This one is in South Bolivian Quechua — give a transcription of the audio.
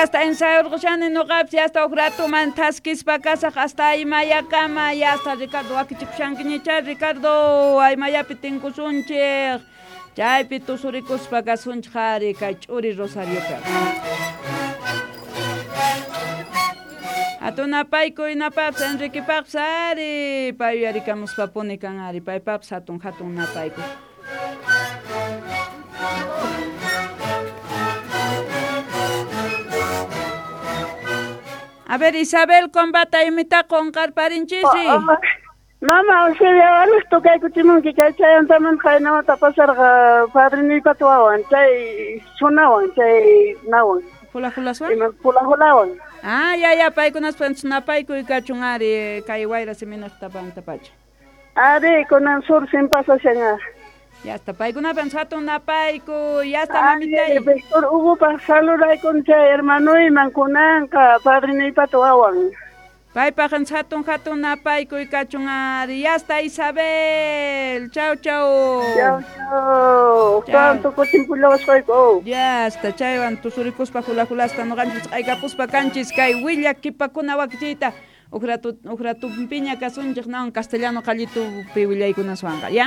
Yasta ensayurqushani nuqapis yasta huk ratuman thaskispa kasaq hasta aymayakama yasta Ricardo wakichikushankiñicha Ricardo aymayapi tinkusunchik chaypi tusurikuspa kasunchik ari kay ch'uri Rosariopi. Hatun napaykuy napapis Enriquepaqpis ari pay yuyarikamuspapuni kan ari paypapis hatun hatun napaykuy. A ver, Isabel, combata imita qonqarparinchisri. Mama, Eusebia, alej tocaykuchimunki kay chayantaman qaynamanta pasarqa padrinuypata wawan, chay sunawan, chay nawan. Hula hulaswan? Ima hula hulawan. Ah, ya, ya, paykunaspa napaykuy kachun ari kay wayra siminaqta pantapacha. Ari, kunan sur sin pasashan. Ya está, paykunapan hatun napayku, ya está, mamitay. Víctor Hugo pa saludaykun chay hermanuyman kunanqa padrinuypata wawan. Paypaq hatun hatun napaykuy kachun ari. Ya está, Isabel. Chau, chau. Chau, chau. Tanto kutinpullawasqayku. Ya está, chaywan tusurikuspa hula hulasta nuqanchis q'aykapuspa kanchis kay willakipakuna wakichiyta. Uqratu uqratumpiña kasunchik nawan castellano qallitupi willaykunaswanqa, ya?